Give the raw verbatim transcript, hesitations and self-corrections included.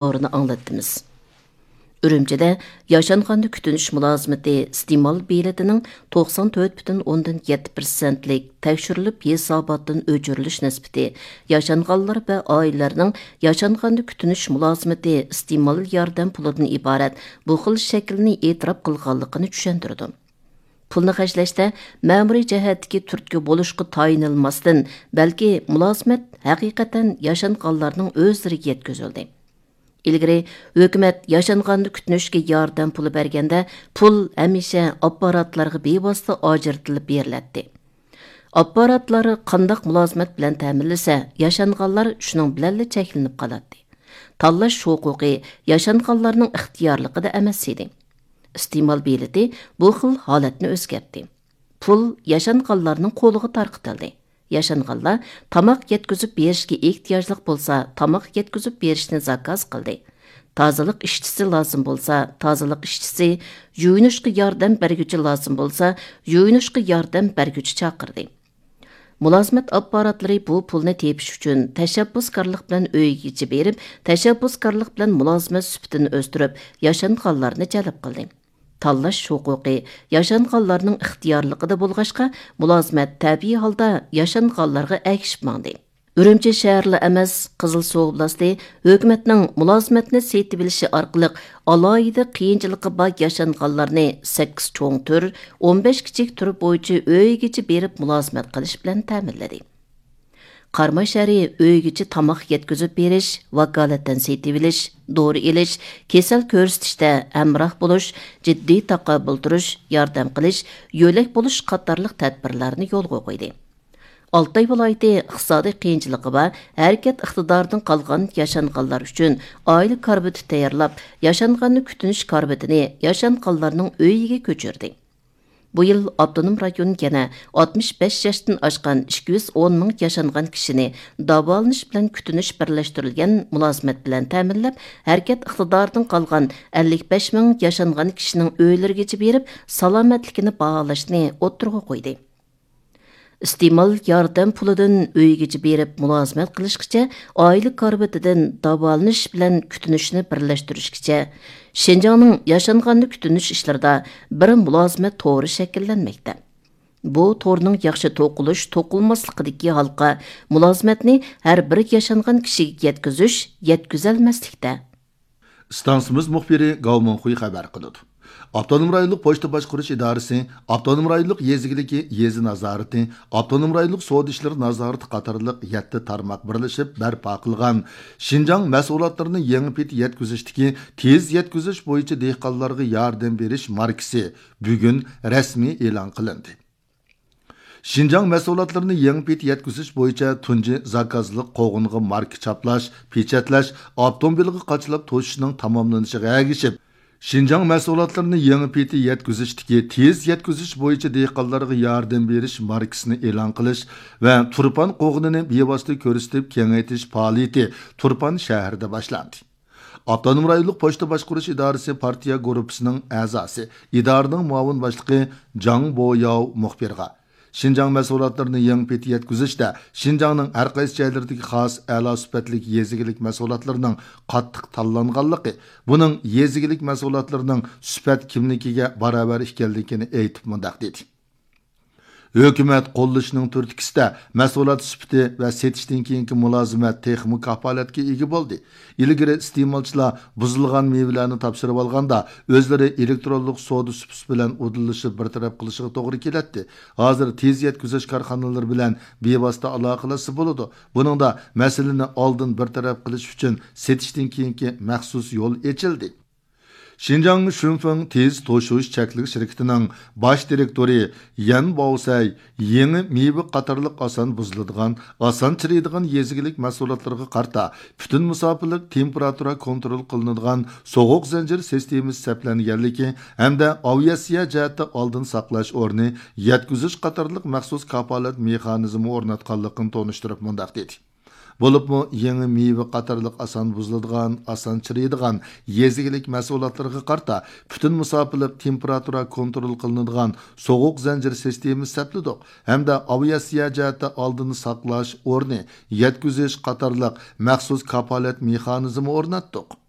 خەۋىرىنى ئاڭلاتتىمىز. ئۈرۈمچىدە ياشانغاننى كۈتۈنۈش مۇلازىمىتى ئىستېمال بېلىتىنىڭ توقسان تۆت پۈتۈن ئوندىن يەتتە پىرسەنتلىك تەكشۈرۈلۈپ ھېساباتتىن ئۆچۈرۈلۈش نىسبىتى، ياشانغانلار ۋە ئائىلىلەرنىڭ ياشانغاننى كۈتۈنۈش مۇلازىمىتى ئىستېمال ياردەم پۇلىدىن ئىبارەت بۇ خىل شەكىلنى ئېتىراپ قىلغانلىقىنى چۈشەندۈرىدۇ. پۇلنى خەجلەشتە مەمۇرىي جەھەتتىكى تۈرتكە بولۇشقا تايىنىلماستىن، بەلكى مۇلازىمەت ھەقىقەتەن ياشانغانلارنىڭ ئۆزلىرىگە يەتكۈزۈلدى. ئىلگىرى ھۆكۈمەت ياشانغاننى كۈتۈنۈشكە ياردەم پۇلى بەرگەندە، پۇل ھەمىشە ئاپپاراتلارغا بىۋاسىتە ئاجرىتىلىپ بېرىلەتتى. ئاپپاراتلار قانداق مۇلازىمەت بىلەن تەمىنلىسە، ياشانغانلار شۇنىڭ بىلەنلا چەكلىنىپ قالاتتى. تاللاش ھوقۇقى ياشانغانلارنىڭ ئىختىيارلىقىدا ئەمەس ئىدى. ئىستېمال بېلىتى بۇ خىل ھالەتنى ئۆزگەرتتى. پۇل ياشانغانلارنىڭ قولىغا تارقىتىلدى. ياشانغانلار تاماق يەتكۈزۈپ بېرىشكە ئېھتىياجلىق بولسا، تاماق يەتكۈزۈپ بېرىشنى زاكاز قىلدى. تازىلىق ئىشچىسى لازىم بولسا، تازىلىق ئىشچىسى، يۇيۇنۇشقا ياردەم بەرگۈچى لازىم بولسا، يۇيۇنۇشقا ياردەم بەرگۈچى چاقىردى. مۇلازىمەت ئاپپاراتلىرى بۇ پۇلنى تېپىش ئۈچۈن تەشەببۇسكارلىق بىلەن ئۆيگىچە بېرىپ، تەشەببۇسكارلىق بىلەن مۇلازىمەت سۈپىتىنى ئۆستۈرۈپ، ياشانغانلارنى جەلپ قىلدى. تاللاش ھوقۇقى ياشانغانلارنىڭ ئىختىيارلىقىدا بولغاچقا، مۇلازىمەت تەبىئىي ھالدا ياشانغانلارغا ئەگىشىپ ماڭدى. ئۈرۈمچى شەھەرلا ئەمەس، قىزىلسۇ ئوبلاستى ھۆكۈمەتنىڭ مۇلازىمەتنى سېتىۋېلىشى ئارقىلىق ئالاھىدە قىيىنچىلىقى بار ياشانغانلارنى سەككىز چوڭ تۈر، ئون بەش كىچىك تۈر بويىچە ئۆيىگىچە بېرىپ مۇلازىمەت قىلىش بىلەن تەمىنلىدى. قاراماي شەھىرى ئۆيگىچە تاماق يەتكۈزۈپ بېرىش، ۋاكالىتەن سېتىۋېلىش، دورا ئېلىش، كېسەل كۆرسىتىشتە ھەمراھ بولۇش، جىددىي تاقابىل تۇرۇش، ياردەم قىلىش، يۆلەك بولۇش قاتارلىق تەدبىرلەرنى يولغا قويدى. ئالتاي ۋىلايىتى ئىقتىسادىي قىيىنچىلىقى بار، ھەرىكەت ئىقتىدارىدىن قالغان ياشانغانلار ئۈچۈن ئائىلە كارىۋىتى تەييارلاپ، ياشانغاننى كۈتۈنۈش كارىۋىتىنى ياشانغانلارنىڭ ئۆيىگە كۆچۈردى. بۇ يىل ئاپتونوم رايون يەنە ئاتمىش بەش ياشتىن ئاشقان ئىككى يۈز ئون مىڭ ياشانغان كىشىنى داۋالىنىش بىلەن كۈتۈنۈش بىرلەشتۈرۈلگەن مۇلازىمەت بىلەن تەمىنلەپ، ھەرىكەت ئىقتىدارىدىن قالغان ئەللىك بەش مىڭ ياشانغان كىشىنىڭ ئۆيلىرىگىچە بېرىپ، سالامەتلىكىنى باھالاشنى ئوتتۇرىغا قويدى. ئىستېمال ياردەم پۇلىدىن ئۆيگىچە بېرىپ مۇلازىمەت قىلىشقىچە، ئائىلە كارىۋىتىدىن داۋالىنىش بىلەن كۈتۈنۈشنى بىرلەشتۈرۈشكىچە، شىنجاڭنىڭ ياشانغاننى كۈتۈنۈش ئىشلىرىدا بىر مۇلازىمەت تورى شەكىللەنمەكتە. بۇ تورنىڭ ياخشى توقۇلۇش، توقۇلماسلىقىدىكى ھالقا مۇلازىمەتنى ھەر بىر ياشانغان كىشىگە يەتكۈزۈش، يەتكۈزەلمەسلىكتە. ئىستانسىمىز مۇخبىرى گاۋ مىڭخۇي خەۋەر قىلىدۇ. ئاپتونوم رايونلۇق پوچتا باشقۇرۇش ئىدارىسى، ئاپتونوم رايونلۇق يېزا ئىگىلىكى يېزا نازارىتى، ئاپتونوم رايونلۇق سودا ئىشلىرى نازارىتى قاتارلىق يەتتە تارماق بىرلىشىپ بەرپا قىلغان شىنجاڭ مەھسۇلاتلىرىنى يېڭى پېتى يەتكۈزۈشتىكى تېز يەتكۈزۈش بويىچە دېھقانلارغا ياردەم بېرىش ماركىسى بۈگۈن رەسمىي ئېلان قىلىندى. شىنجاڭ مەھسۇلاتلىرىنى يېڭى پېتى يەتكۈزۈش بويىچە تۇنجى زاكازلىق قوغۇنغا ماركا چاپلاش، پېچەتلەش، ئاپتوموبىلغا قاچىلاپ توشۇشنىڭ تاماملىنىشىغا ئەگىشىپ، شىنجاڭ مەھسۇلاتلىرىنى يېڭى پېتى يەتكۈزۈشتىكى تېز يەتكۈزۈش بويىچە دېھقانلارغا ياردەم بېرىش ماركىسىنى ئېلان قىلىش ۋە تۇرپان قوغۇنىنى بىۋاسىتە كۆرسىتىپ كېڭەيتىش پائالىيىتى تۇرپان شەھىرىدە باشلاندى. ئاپتونوم رايونلۇق پوچتا باشقۇرۇش ئىدارىسى پارتىيە گۇرۇپپىسىنىڭ ئەزاسى، ئىدارىنىڭ مۇئاۋىن باشلىقى جاڭ بوياۋ مۇخبىرغا، شىنجاڭ مەھسۇلاتلىرىنى يېڭى پېتى يەتكۈزۈشتە شىنجاڭنىڭ ھەر قايسى جايلىرىدىكى خاس ئەلا سۈپەتلىك يېزا ئىگىلىك مەھسۇلاتلىرىنىڭ قاتتىق تاللانغانلىقى، بۇنىڭ يېزا ئىگىلىك مەھسۇلاتلىرىنىڭ سۈپەت كىملىكىگە باراۋەر ئىكەنلىكىنى ئېيتىپ مۇنداق دېدى. ھۆكۈمەت قوللىشىنىڭ تۈرتكىسىدە مەھسۇلات سۈپىتى ۋە سېتىشتىن كېيىنكى مۇلازىمەت تېخىمۇ كاپالەتكە ئىگە بولدى. ئىلگىرى ئىستېمالچىلار بۇزۇلغان مېۋىلەرنى تاپشۇرۇۋالغاندا، ئۆزلىرى ئېلېكترونلۇق سودا سۇپىسى بىلەن ئۇدۇللىشىپ بىر تەرەپ قىلىشىغا توغرا كېلەتتى. ھازىر تېز يەتكۈزۈش كارخانىلىرى بىلەن بىۋاسىتە ئالاقىلەشسە بولىدۇ. بۇنىڭدا مەسىلىنى ئالدىن بىر تەرەپ قىلىش ئۈچۈن سېتىشتىن كېيىنكى مەخسۇس يول ئېچىلدى. شىنجاڭ شۈنفېڭ تېز توشۇش چەكلىك شىركىتىنىڭ باش دىرېكتورى يەن باۋسەي يېڭى مېۋە قاتارلىق ئاسان بۇزۇلىدىغان، ئاسان چىرىيدىغان يېزا ئىگىلىك مەھسۇلاتلىرىغا قارىتا پۈتۈن مۇساپىلىك تېمپېراتۇرا كونترول قىلىنىدىغان سوغۇق زەنجىر سىستېمىسى سەپلەنگەنلىكى ھەمدە ئاۋىئاتسىيە جەھەتتە ئالدىن ساقلاش ئورنى، يەتكۈزۈش قاتارلىق مەخسۇس كاپالەت مېخانىزمى ئورناتقانلىقىنى تونۇشتۇرۇپ مۇنداق دېدى. بولۇپمۇ يېڭى مېۋە قاتارلىق ئاسان بۇزۇلىدىغان، ئاسان چىرىيدىغان يېزا ئىگىلىك مەھسۇلاتلىرىغا قارىتا پۈتۈن مۇساپىلىق تېمپېراتۇرا كونترول قىلىنىدىغان سوغۇق زەنجىر سىستېمىسى سەپلىدۇق ھەمدە ئاۋىئاتسىيە جەھەتتە ئالدىن ساقلاش ئورنى، يەتكۈزۈش قاتارلىق مەخسۇس كاپالەت مېخانىزمى ئورناتتۇق.